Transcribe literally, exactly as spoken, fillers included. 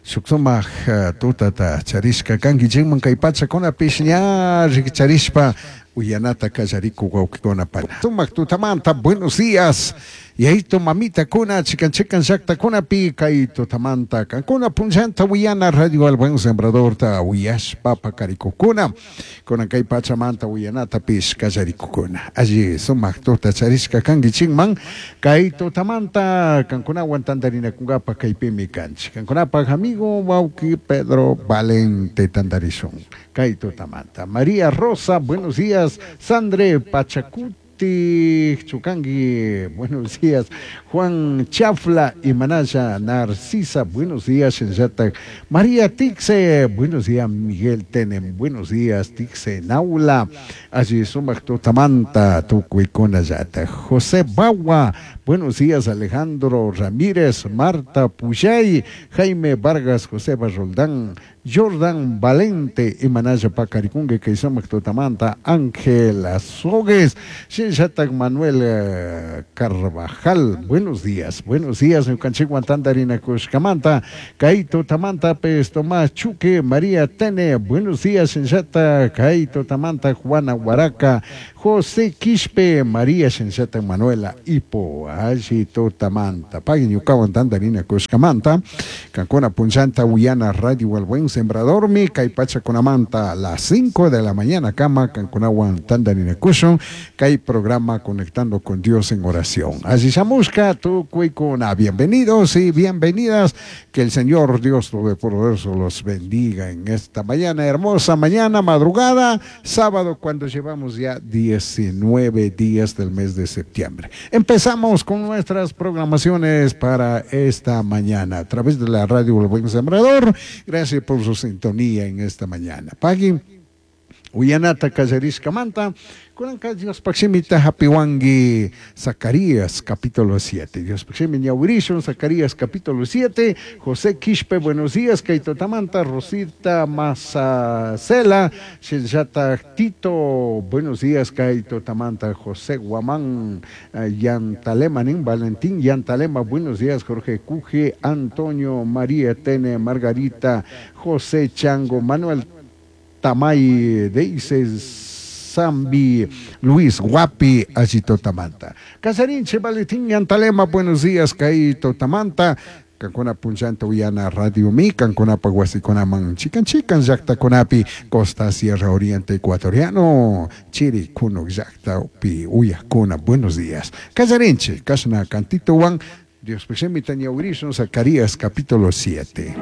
Shuk sumak tutata charishka kankichikman kay pachakunapish ña rikcharishpa uyanata kallarikuk wawkikuna pana. Sumak tutamanta, buenos días. Yayito mamitakuna chikan chikan llaktakunapi kay tutamanta kankuna punllanta uyana Radio El Buen Sembradorta uyashpa pakarikukuna kunan kay pachamanta uyanatapish kallarikukuna. Alli sumak tuta charishka kankichikman kay tutamanta kankunawan tantarinakunkapa kaypimi kanchik. Kankunapak amigo wawki Pedro Valente tantarishun kay tutamanta. María Rosa, buenos días. Sandre Pachacuti Chukangi, buenos días. Juan Chafla y Manaya Narcisa, buenos días. Shenyatak María Tixe, buenos días. Miguel Tenem, buenos días. Tixe Naula, allí sumak tutamanta, tukuykuna llata. José Bawa, buenos días. Alejandro Ramírez, Marta Puyay, Jaime Vargas, José Roldán, Jordan Valente, y Manaya Pacarikungue, que sumak tutamanta, Ángel Azogues, Shenyatak Manuel eh, Carvajal, buenos días, buenos días, ñukanchikwan tantarinakushkamanta, kay tutamanta pes Tomás Chuque, María Tene, buenos días, Shenyatak, kay tutamanta Juana Huaraca, José Quispe, María Shenyatak Manuela Ipo, alli tutamanta, pagui ñukawan tantarinakushkamanta, kankuna punllanta uyana Radio El Buen Sembrador mi kay pachakunamanta a las cinco de la mañana kama kankunawan tantarinakushun, kay programa Conectando con Dios en Oración. Así shamushka tukuykuna, bienvenidos y bienvenidas, que el Señor Dios Todopoderoso los bendiga en esta mañana, hermosa mañana, madrugada, sábado, cuando llevamos ya diecinueve días del mes de septiembre. Empezamos con nuestras programaciones para esta mañana a través de la radio El Buen Sembrador. Gracias por su sintonía en esta mañana. Pagui uyanata kallarishkamanta, kunanka Diospaj shimita hapiwanki Zacarías capítulo siete. Diospaj shimi ñawirishun Zacarías capítulo siete. José Quispe, buenos días. Kay tutamanta, Rosita Mazacela, Shenyatak Tito, buenos días. Kay tutamanta, José Guamán, eh, Yantalema, nin Valentín Yantalema, buenos días. Jorge Cuje, Antonio María Tene, Margarita, José Chango, Manuel Tamay, Deises, Zambi, Luis Guapi, alli tutamanta. Casarinche, Valentín Yantalema, buenos días, kay tutamanta. Kankuna punllanta uyana Radio Mi, kankunapa wasikunaman chikan chikan llaktakunapi, Costa Sierra Oriente Ecuatoriano, Chiri Kunuk llaktapi uyakuna, buenos días. Casarinche, kashna cantito wan, Diospaj shimita ñawirishun, Zacarías capítulo siete.